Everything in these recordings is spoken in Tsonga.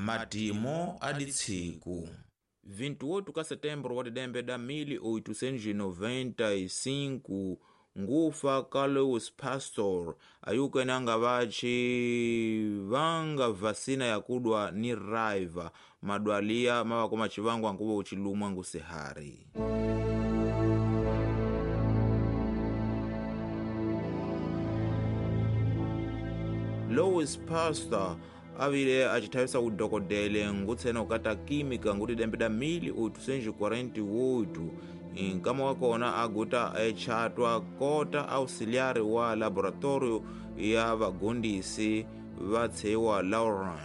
Matimo a ditsiku 28 ka setembro wa didembe da 1895 ngufa ka Louis Pasteur ayukene anga vaci vanga vacina yakudwa ni raiva madwaliya mavako macivangu ankuva ucilumwa ngusihari. Louis Pasteur avile acithavisa udokodele ngutsena ukata química nguti dembe da 1848 nkama wa kona aguta echatwa kota auxiliar wa laboratorio ya vagondisi va tshewa Laurent.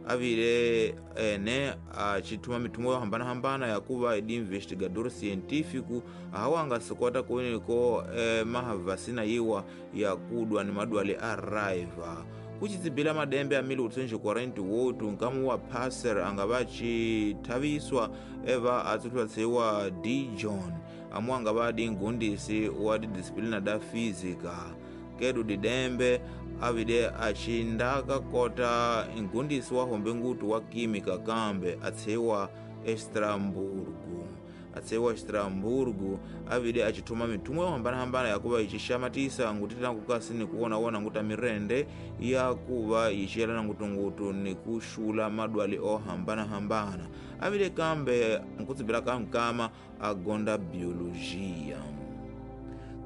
Avile ene acithuma mithumo yo hambanahambana yakuva idi investigador científico ahawanga sikota kuweneko mahavasina yiwa yakudwa ni madwale a raiva. Kucitsibila madembe a 1848 nkamu wa Pasteur angava cithaviswa eva atsuthuwa tseiwa D. John amu angava adi ngundisi wa didisciplina da física. Kedu didembe avide acindaka kota ngundisi wa hombe ngutu wa química kambe atseiwa Estramburgo. Atsewa Estramburgo avide acithuma mithumo yo hambanahambana yakuva icixamatisa ngutitana kukasi ni kuwonawona nguta mirende yakuva yiciyelana ngutungutu ni kuxula madwali o hambanahambana. Avide kambe nkutsibila ka nkama agonda biologia.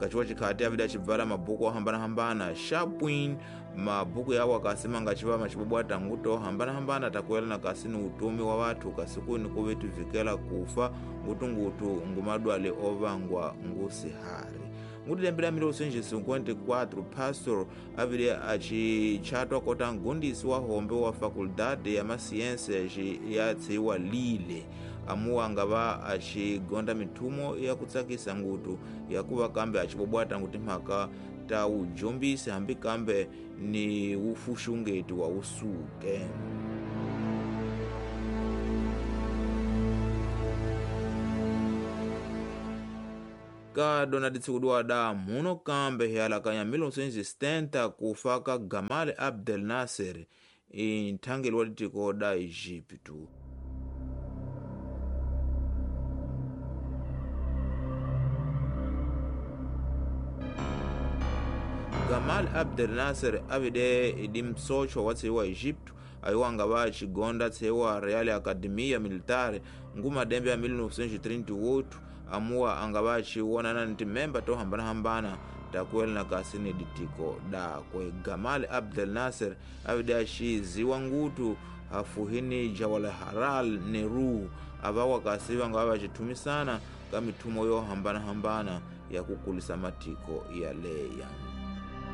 Kaciwa cikhati avide acibvala mabuku ohambanahambana Chapuin mabuku yawo akasima ngaciva macibobwata nguto ohambanahambana takuelana kasi ni utumi wa vathu kasi kuni kuve tuvikela kufa ngutungutu ngumadwale ovangwa ngusihari. Nguti lembe la 1954 Pasteur avile acichatwa kota ngundisi wa hombe wa faculdade ya masiense ya tseiwa Lille amuwa angava acigonda mithumo ya kutsakisa ngutu yakuva kambe acibobwata nguti mhaka ta ujombisi hambi kambe ni ufuxungeti wa usuke. Ka dona ditshikudiwa da muno kambe hialakanya 1970 kufa ka Gamal Abdel Nasser inthangeli wa litiko da Egipto. Gamal Abdel Nasser avide idi msocho wa tseiwa Egipto ayiwanga va xigonda tseiwa Real Academia Militare ngumadembe ya 1938 amuwa angava aciwonana ni timemba to hambanahambana takuelana kasi ni ditiko dakwe. Gamal Abdel Nasser avide axiziwa ngutu hafuhini Jawaharlal Nehru avawa kasi vangava vacithumisana ka mithumo yo hambanahambana ya kukulisa matiko yaleya.